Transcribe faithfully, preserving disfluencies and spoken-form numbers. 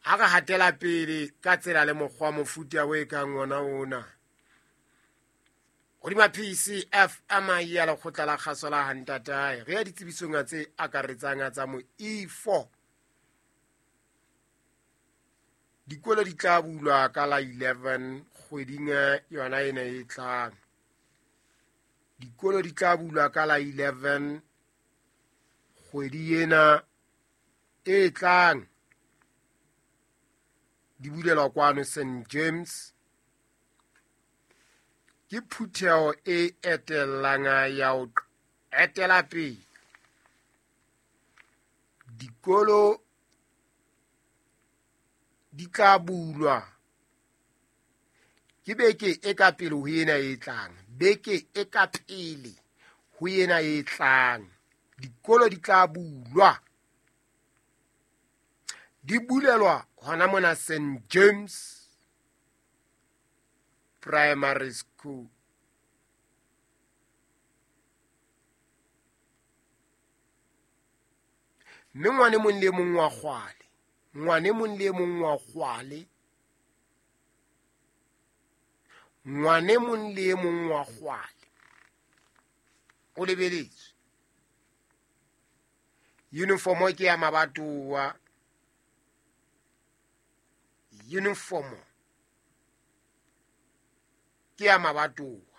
Ha re hatela pele ka tsela le mokgwa mofuta o e kang ona ona. Hodima P C F M ya lekgotla la kgaso la Hantatae, re ya ditsebisong tse akaretsang tsa mo E four. Dikolo di tla bulwa ka la eleven kgweding yona ena e tlang. Dikolo di tla bulwa ka la eleven kgwedi ena e tlang. Di bulelwa kwano Saint James. Ke phutheho e etellang ya ho etela pele. Dikolo di tla bulwa ke beke e ka pele ho ena e tlang. Beke e ka pele ho ena e tlang. Dikolo di tla bulwa. Di bulelwa hona mona Saint James Primary School. Mme ngwane mong le mong wa kgwale, ngwane mong le mong wa kgwale, ngwane mong le mong wa kgwale o lebeletswe. Uniform ke ya mabatowa. Uniform ke ya mabatowa.